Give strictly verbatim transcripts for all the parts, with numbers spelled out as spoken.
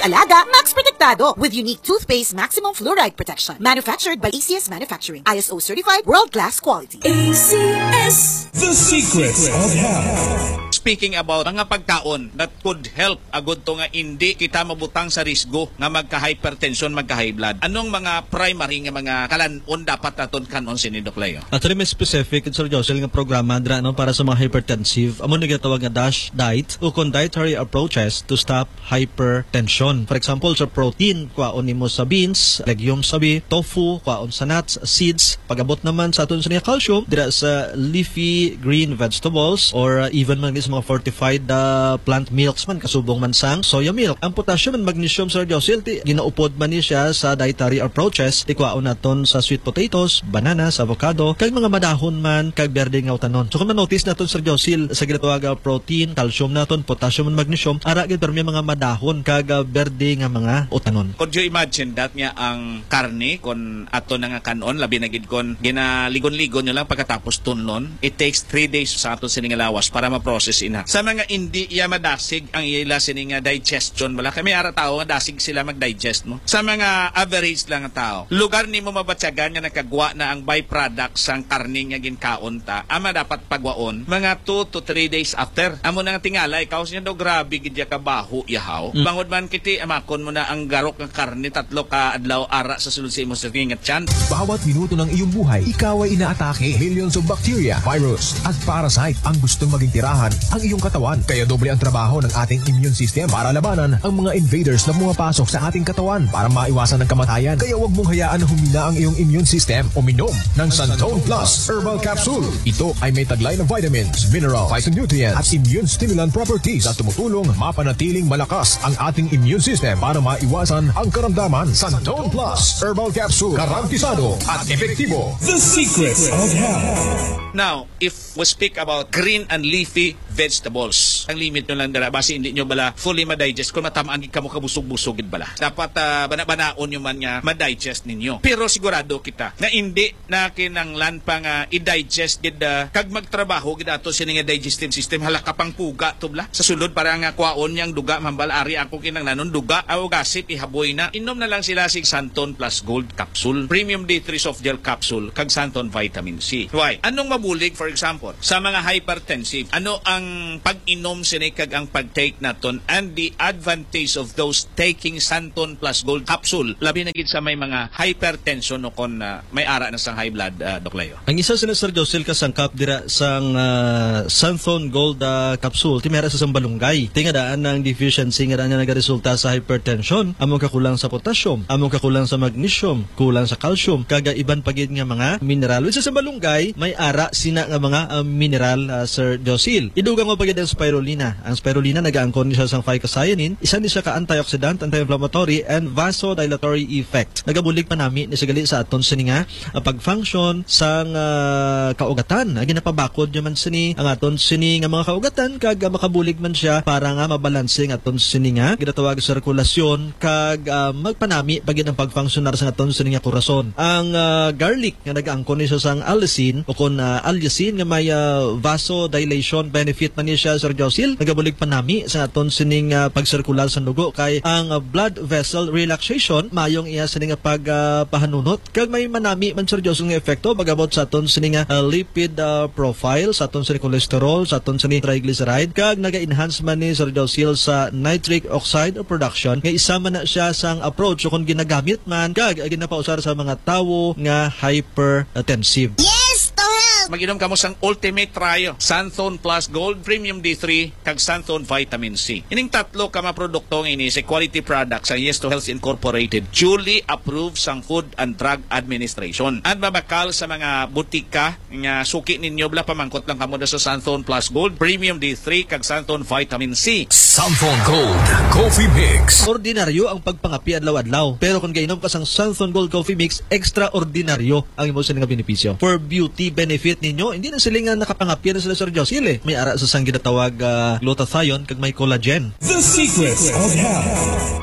Alaga, Max Protektado, with unique toothpaste maximum fluoride protection. Manufactured by A C S Manufacturing. I S O certified, world-class quality. A C S. The Secrets of Health. Speaking about mga pagkaon that could help agud to nga indi kita mabutang sa risgo nga magka-hypertension, magka-high blood, anong mga primary nga mga kalan-on dapat naton kan-on sini, Doc Leo? Actually, may specific, Sir Josel, nga programa dira, no, para sa mga hypertensive. Amo na ginatawag nga DASH diet, o kon dietary approaches to stop hypertension. For example, sa protein, kwaon nimo sa beans, legumes, abi, tofu, kwaon sa nuts, seeds. Pag-abot naman sa aton sa calcium, dira sa leafy green vegetables or, uh, even man sa mga fortified, uh, plant milks man, kasubong man sang soya milk. Ang potassium and magnesium, Sir Josil, ti ginaupod man ni siya sa dietary approaches. Ti kwaon naton sa sweet potatoes, bananas, avocado, kag mga madahon man kag berde nga utanon. So kung ma-notice naton, Sir Josil, sa ginatawag nga protein, calcium naton, potassium and magnesium, ara gid permi mga madahon kag, ah, berde nga mga utanon. Could you imagine that nga ang karne, kon ato na nga kan-on, labi na gid kon ginaligon-ligon nyo lang pagkatapos tunlon, it takes three days sa aton sini nga lawas para ma-process ina. Sa mga indi iya madasig ang ila sini nga digestion, wala kami ara tao nga dasig sila mag-digest mo. Sa mga average lang nga tao, lugar nimo mabatyagan nga nagkagwa na ang byproduct sang karne nga ginkaon ta, ama dapat pagwaon mga two to three days after. Amo na nga tingala, ikaw siya daw, "Grabe gid ya kabaho, yahaw." Mm. Bangod man kiti, amakon mo na ang garok nga karne tatlo ka adlaw ara sa sulod sa imo sa nga tiyan. Bawat minuto ng iyong buhay, ikaw ay inaatake. Millions of bacteria, virus, at parasite ang gustong maging tirahan ang iyong katawan. Kaya doble ang trabaho ng ating immune system para labanan ang mga invaders na pumapasok sa ating katawan para maiwasan ang kamatayan. Kaya huwag mong hayaan na humina ang iyong immune system. Uminom ng Santon Plus Herbal Capsule. Ito ay may taglay na vitamins, mineral, phytonutrient at immune stimulant properties na tumutulong mapanatiling malakas ang ating immune system para maiwasan ang karamdaman. Santon Plus Herbal Capsule, garantisado at epektibo. The Secrets of Health. Now, if we speak about green and leafy vegetables, ang limit nyo lang dala, basi hindi nyo bala fully ma-digest kung matamaan gid kamo kabusog-busog gid bala. Dapat, ah, bana-banaon nyo man nga ma-digest ninyo. Pero sigurado kita nga hindi na kinanglan pa nga i-digest gid, ah, kag magtrabaho gid ato sini nga digestive system, hala ka pang puga to bala. Sa sulod para nga kwaon niyang duga, mambal ari ako kinanglanon duga, aw gasip ihaboy na. Inom na lang sila sig Santon Plus Gold Capsule, Premium D three Soft Gel Capsule, kag Santon Vitamin C. Why? Anong mabulig, for example, sa mga hypertensive? Ano ang pag-inom sini kag ang pag-take naton and the advantage of those taking Santon Plus Gold Capsule, labi na gid sa may mga hypertension o kon, ah, may ara na sang high blood, ah, Doc Leo? Ang isa sina, Sir Josil, ka sangkap dira sang, ah, Santhon Gold, ah, capsule, ti may ara sa sambalunggay. Ti nga daan ang deficiency nga daan nga nagaresulta sa hypertension, among kakulang sa potassium, among kakulang sa magnesium, kulang sa calcium, kag iban pa gid nga mga mineral. Which sa sambalunggay, may ara sina nga mga, ah, mineral, ah, Sir Josil. Idugang mo pa gid ang spirulina. Ang spirulina nagaangkon ni siya sang phycocyanin, isa ni siya ka antioxidant, anti-inflammatory, and vasodilatory effect. Nagabulig panami ni siya gali sa aton sini nga, ah, pag-function sang, ah, kaugatan. Ah, ginapabakod niya man sini ang aton sini nga mga kaugatan, kag, ah, makabulig man siya para nga mabalanse ang aton sini nga ginatawag sirkulasyon, kag, ah, magpanami pa gid ang pag-functionar sa aton sini nga korason. Ang, ah, garlic nga nagaangkon ni siya sang allicin o kon, ah, allicin nga may, ah, vasodilation benefit man ni siya, Sir Josil. Nagabulig panami sa aton sining, ah, pagsirkular sa dugo kay ang, ah, blood vessel relaxation mayong iya sini nga pag, ah, pahanunot. Kag may manami man, Sir Josil, nga epekto pag-abot sa aton sini nga, ah, lipid, ah, profile, sa aton sini cholesterol, sa aton sini triglyceride, kag naga-enhance man ni, Sir Josil, sa nitric oxide production, nga isa man na siya sang approach o kon ginagamit man kag ginapausar sa mga tawo nga hypertensive. Yes, to help! Mag-inom kamo sang Ultimate Trio, Santhon Plus Gold, Premium D three, kag Santhon Vitamin C. Ining tatlo ka mga produkto nga ini sa quality products sang Yes to Health Incorporated, duly approved sang Food and Drug Administration. At mabakal sa mga butika nga suki ninyo, bala, pamangkot lang kamo na sa Santhon Plus Gold, Premium D three, kag Santhon Vitamin C. Santhon Gold Coffee Mix. Ordinaryo ang pagpangapi adlaw-adlaw, pero kung gainom ka sang Santhon Gold Coffee Mix, extraordinaryo ang imo sini nga benepisyo. For beauty benefit ninyo, hindi na sila nga nakapangapi na sila, Sir Josil, eh. May ara sa sang ginatawag, ah, glutathione kag may collagen. The Secrets of Health.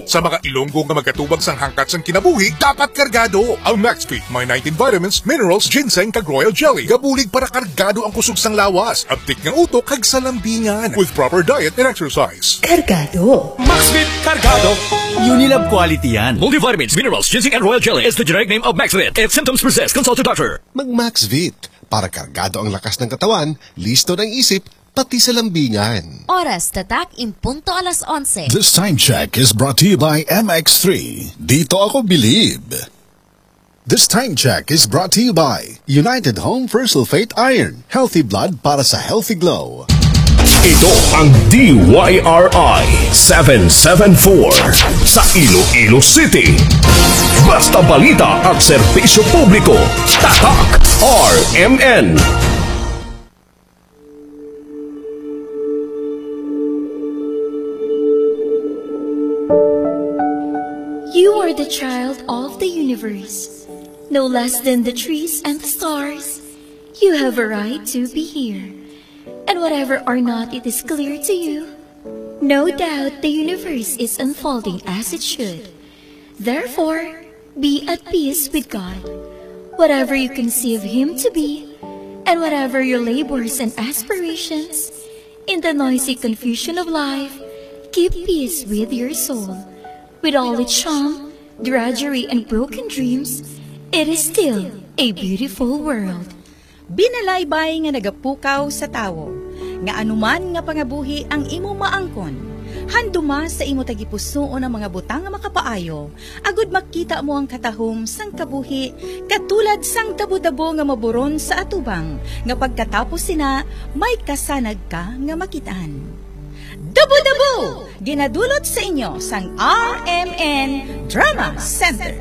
Sa mga Ilonggo nga magkatubag sang hangkat sang kinabuhi, dapat kargado. Ang Maxfit may nineteen vitamins, minerals, ginseng, kag royal jelly. Gabulig para kargado ang kusog sang lawas, abtik nga utok, kag salambingan. With proper diet and exercise. Kargado. Maxfit Kargado. Unilab quality yan. Multivitamins, minerals, ginseng, and royal jelly is the generic name of Maxfit. If symptoms persist, consult your doctor. Mag Maxvit para kargado ang lakas ng katawan, listo ng isip, pati sa lambingan. Oras tatak in punto alas onse. This time check is brought to you by M X three. Dito ako bilib. This time check is brought to you by United Home Fersulfate Iron. Healthy blood para sa healthy glow. Ito ang D Y R I seven seven four sa Iloilo City. Basta balita at serbisyo publiko, tatak R M N. You are the child of the universe. No less than the trees and the stars, you have a right to be here. And whatever or not it is clear to you, no doubt the universe is unfolding as it should. Therefore, be at peace with God. Whatever you conceive Him to be, and whatever your labors and aspirations, in the noisy confusion of life, keep peace with your soul. With all its sham, drudgery, and broken dreams, it is still a beautiful world. Binalaybay nga nagapukaw sa tawo, nga anuman nga pangabuhi ang imo maangkon, handuma sa imo tagipusoon ang mga butang nga makapaayo, agud makita mo ang katahom sang kabuhi, katulad sang dabo-dabo nga maburon sa atubang, nga pagkatapos sina may kasanag ka nga makit-an. Dabo-dabo! Ginadulot sa inyo sang R M N Drama Center.